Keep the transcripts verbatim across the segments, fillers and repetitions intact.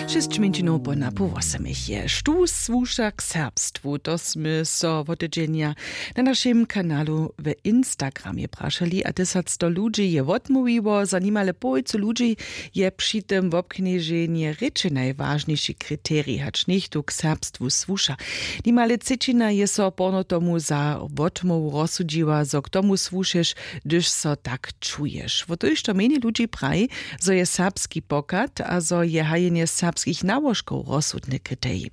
Šěsć mjeńšinow po napoł wosomich je štó słuša k serbstwu, to smy so wotydźenja na našim kanalu w Instagramje prašeli a tysacsto ludźi je wotmołwiło. Za nimale połojcu ludźi je při tym wobknježenje rěče najwažniši kriterij hač něchtó k serbstwu słuša. Nimale třećina je so porno tomu za wotmołwu rozsudźiła zo k tomu słušeš, hdyž so tak čuješ wo tójšto mjenjej ludźi praji, zo je serbski pochad a zo je hajenje serbskich nałožkow rozsudny kriterij.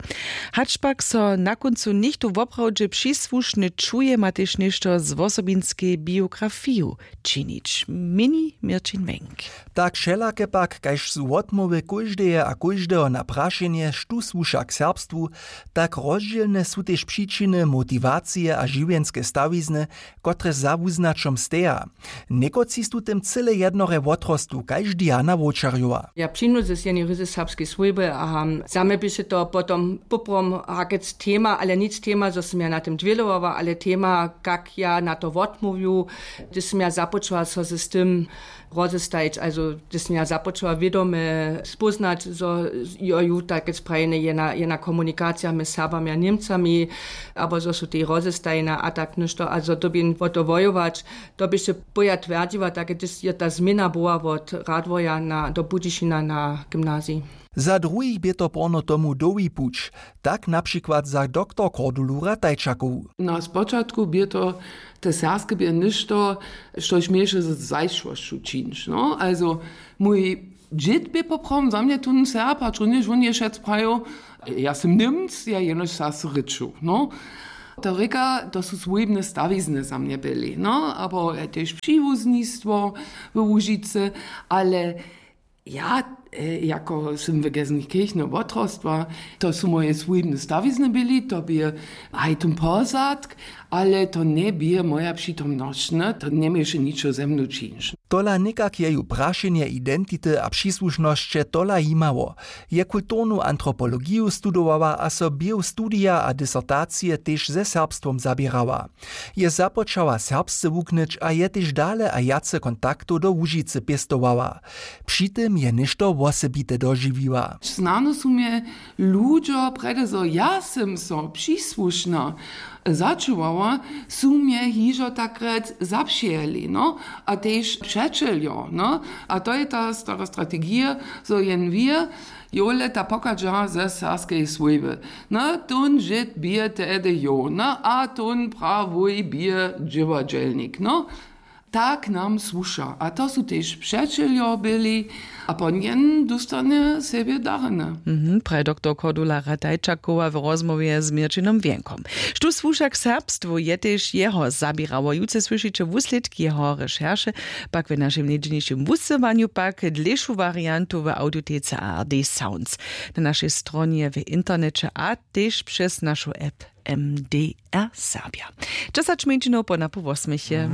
Hač pak so na kóncu něchtó woprawdźe přisłušny čuje ma tež něšto z wosobinskej biografiju činić měni měrćin wjenk. Tak wšelake pak kaž su wotmołwy kóždeje a kóždeho na prašenje štó słuša k serbstwu, tak rozdźělne su tež přičiny motiwacije a žiwjenske stawizny, kotrež za wuznaćom steja. Někotři su tym cyle jednorje wotrostu kaž diana wočerjowa. Ja přinu z jenej ryzy serbskej swójby a za mje běše to potom poprom hakec tema ale nic tema zo sym ja na tym dwělowała ale tema kak ja na to wotmołwju, hdyž sym ja započała so z tym rozestajić also hdyž sym ja započała wědome spóznać zo jo ju takec prajene jena jena komunikacija mjez serbami a němcami, abo zo su tej rozestajene a tak něšto a zo dyrbjeń wo to wojować. To běše poja twjerdźiła tak hdyž je ta změna była wot radworja na do budyšina na gymnazij. Za druhich bě to porno tomu dołhi puć, tak na přikład za doktor kordulu ratajčakowu. Na spočatku bě to te serbske bě něšto, štož měješe z zašłosću čińć no also mój dźěd bě poprawom za mnje tón serb hač runjež wón je wšec prajił, ja sym němc ja jenož serbsce rěču no. To rěka to su swójbne stawizny za mnje byli no abo tež přiwuznistwo w łužicy. Ale ja jako sym w gesenkirchne wotrostła, to su moje swójbne stawizny byli to bě haj tón pozadk, ale to njebě moja přitomnosć ne to njeměješe ničo ze mnu čińć. Tola někak je ju prašenje identity a přisłušnosće tola jimało. Je kulturnu antropologiju studowała a so běhu studija a disertacije tež ze serbstwom zaběrała. Je započała serbsce wuknyć a je tež dale a wjace kontaktow do łužicy pěstowała. Při tym je něšto wosebite dožiwiła. Snano su mje ludźo prjedy zo ja sym so přisłušna začuwała, su mje hižo takrjec zapřijeli no a tež přećeljo no. A to je ta stara strategija zo jen wir jowle ta pochadźa ze serbskej swójby. Na tón žyt bě tehdy jow na a tón prawuj bě dźěładźelnik no. Tak nam słuša a to su tež přećeljo byli. A po njen dóstanje sebje darjene. Mhm, praji doktor kordula radajčakowa w rozmołwje z měrćinom wjenkom. Štó słuša k serbstwu je tež jeho zaběrało jutře słyšiće wuslědk jeho rešerše, pak w našim njedźelnišim wusyłanju pak dlěšu wariantu w awdiotecy a r d sounds, na našej stronje w interneće a tež přez našu app. M D R serbja. Dźesać mjeńšinow po napoł wosmjeche.